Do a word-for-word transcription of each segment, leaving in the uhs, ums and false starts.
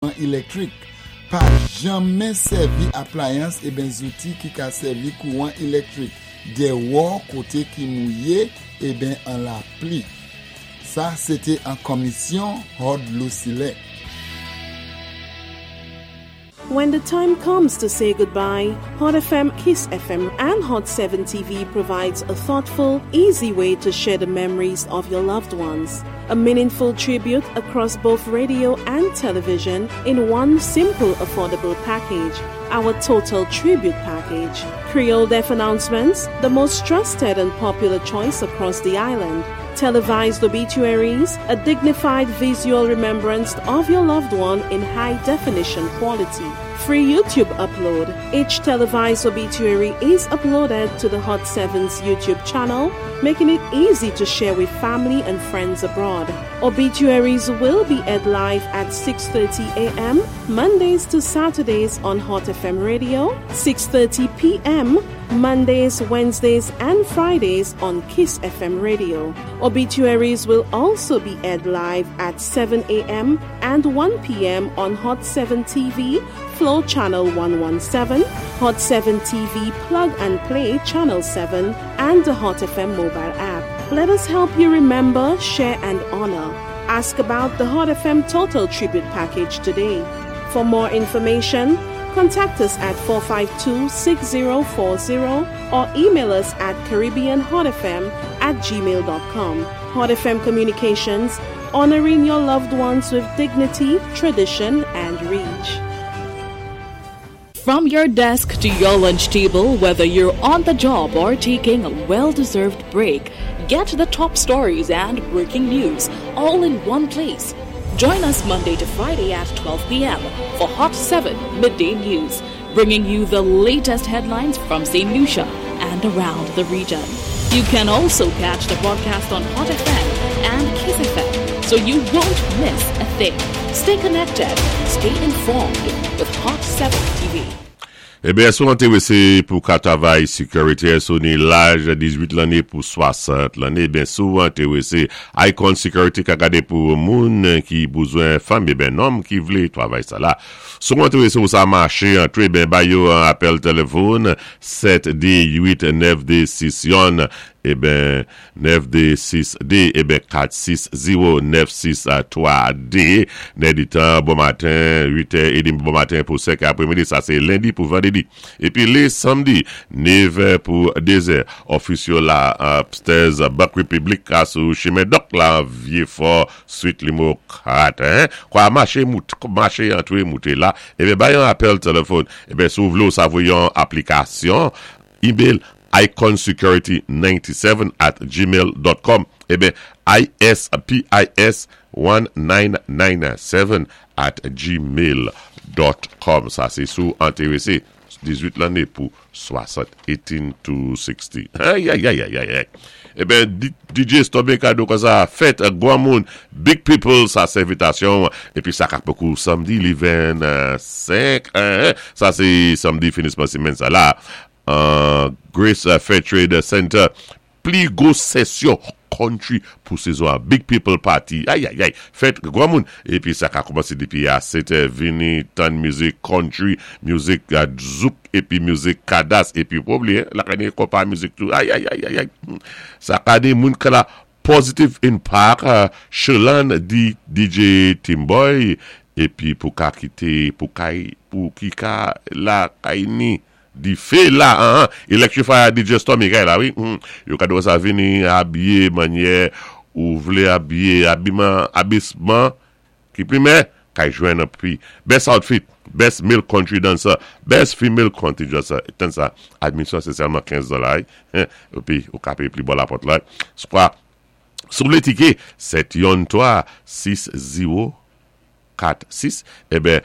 Élektwik. Pa janmen sèvi aplayans eben zouti ki ka sèvi kouwan élektwik. Déwò koté ki mouwé eben an lapli. Sa, sé té an komisyon Hod Lucile. When the time comes to say goodbye, Hot F M, Kiss F M, and Hot seven T V provides a thoughtful, easy way to share the memories of your loved ones. A meaningful tribute across both radio and television in one simple, affordable package. Our Total Tribute Package. Creole Death Announcements, the most trusted and popular choice across the island. Televised obituaries, a dignified visual remembrance of your loved one in high definition quality. Free YouTube upload. Each televised obituary is uploaded to the Hot seven's YouTube channel, making it easy to share with family and friends abroad. Obituaries will be aired live at six thirty a m. Mondays to Saturdays on Hot F M Radio, six thirty p m. Mondays, Wednesdays, and Fridays on Kiss F M Radio. Obituaries will also be aired live at seven a m and one p m on Hot seven T V, Flow Channel one one seven, Hot seven T V Plug and Play Channel seven, and the Hot F M mobile app. Let us help you remember, share, and honor. Ask about the Hot F M Total Tribute Package today. For more information, contact us at four five two, six zero four zero or email us at caribbeanhotfm at gmail dot com. Hot F M Communications, honoring your loved ones with dignity, tradition, and reach. From your desk to your lunch table, whether you're on the job or taking a well deserved break, get the top stories and breaking news all in one place. Join us Monday to Friday at twelve p m for Hot seven Midday News, bringing you the latest headlines from Saint Lucia and around the region. You can also catch the broadcast on Hot F M and Kiss F M, so you won't miss a thing. Stay connected, stay informed with Hot seven T V. Eben, si ou entèwésé pou ka travay security, si ou ni laj dizuit lanné pou swasant lanné, eben, si ou entèwésé, Icon Security ka gadé pou moun ki bouzwen fanm, eben, nonm ki vlé travay sa la. Si ou entèwésé ou sa maché, antré, ben, ba yo an apèl téléfòn, sèt dé uit nèf dé sis yon, eben, nèf dé sis dé, eben, kat sis zewo nèf sis twa dé, nè di tan, bon maten, uit è édmi bon maten pou senk apré-midi, sa sé lendi pou vandédi. Épi lé samdi, nèv pou dé zè, ofis yo la, upstairs, Bank Republic, a sou chimen Dòk la, Vyé Fò, suite nimewo kat, hein? Kwa maché, mout, maché antré, mouté la, eben, bay yon apèl téléfòn, eben, si ou vlé ou sa voyé yon aplikasyon, email iconsecurity ninety-seven at gmail dot com, eben, I S P I S nineteen ninety-seven at gmail dot com. Sa, sé si ou entèwésé, dizuit lanné pou swasant, eighteen to sixty. Ay, ay, ay, ay, ay, ay. Eben, D J Stormy kado kon sa, fèt gwanmoun, big people, sa sé envitasyon, épi sa ka pokou samdi, li vennsenk, sa sé samdi finisman simenn sa la, Grace Fair Trade Center, pli gwo sesyon country pou sezon, big people party, ay, ay, ay, fèt gwanmoun, épi sa ka koumansé dépi a sèt è, vini tann mizik country, mizik zouk, épi mizik kadas, épi pa blié, la ka ni konpa mizik tou, ay, ay, ay, ay, ay, sa ka ni moun ka la Positive Impact, Shelan di D J Timboy, épi pou ka kité, pou kay, pou ki ka la kay ni, difé la, an, Electrify D J Stormy kay la, wi, yo ka do sa vini abiye, manyè, ou vlé abiye, abiman, abisman, ki primè, kay jwenn pi, best outfit, best male country dancer, best female country dancer, dancer, admisyon se sèlman kenz dola, épi, ou ka péyé pli bò la pòt la, swa, si ou vlé tiké, sèt yon twa, sis zewo, kat sis, eben,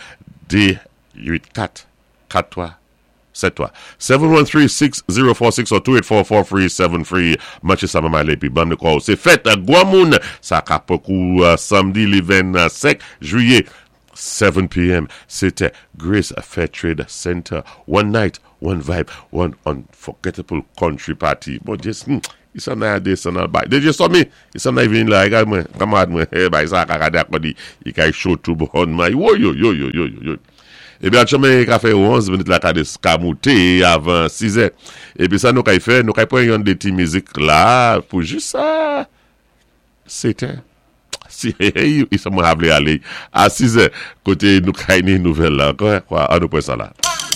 dé uit kat, kat twa, sèt twa. seven one three, six zero four six or two eight four, four three seven three. Manché sa manman épi ban nou kwa. Sé fèt gwanmoun. Sa ka pokou samdi li vennsenk jwiyé. seven p m. Sété Grace Fair Trade Center. One night, one vibe, one unforgettable country party. Bon, just, hmm, I san nan desann al bay. D J Stormy, i san nan vin la, gade mwen, kanmarad mwen, eh, bay sa ka gade akò di, i kay cho tou bon, man, yo, yo, yo, yo, yo, yo. Ébi, chemen ka fè onz minit la ka des ka mouté avan sis è. Épi sa nou kay fè, nou kay pran yon dé ti mizik la pou jis sa. Sétè. Si, i sa mwen vlé alé a sis è koté nou kay ni nouvèl la ankò, kwa, an nou pran sa la.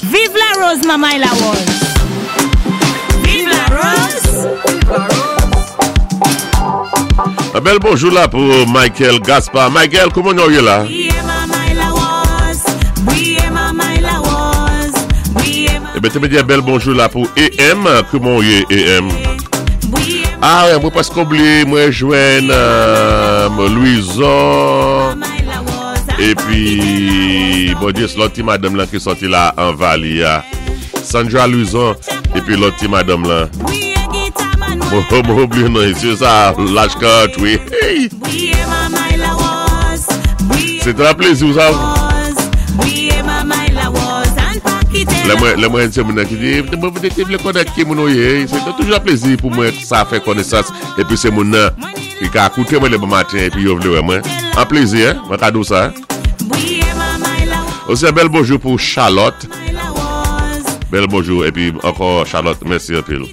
Vive la rose, maman la rose. Vive la rose. Un bel bonjour là pour Michael Gaspard. Michael, kouman nou yé la? Maman la rose. Oui, maman la rose. Oui, Ében, té mwen di bel bonjou la pou A M. Kouman yé, A M? Oui, Ah, wè, mwen pask oublié, mwen jwenn euh, Louison. Maman la rose. Épi, bon Dye, sé lòt ti madanm lan ki sòti la an Vali ya. Sandra Louison, épi lòt ti madanm lan. Oui, guitar man. Mwen mwen oublié non, sé sa, laj kat, wi. Hey! Oui, maman la rose. Oui, Sé yon plézi, sa. Rose. Oui, maman la rose. An pa kité Lè mwen, lè mwen sé moun nan ki di, mwen mwen té vlé konnen ki moun ou yé, sé toujou yon plézi pou mwen sa fè konesans, épi sé moun nan ki ka koute mwen lé bon maten, épi yo vlé wè mwen. An plézi, hein, mwen ka di ou sa. Hein. Oui, maman la Osi yon bel bonjou pou Charlotte. La rose. Bel bonjou, épi ankò Charlotte, mèsi anpil.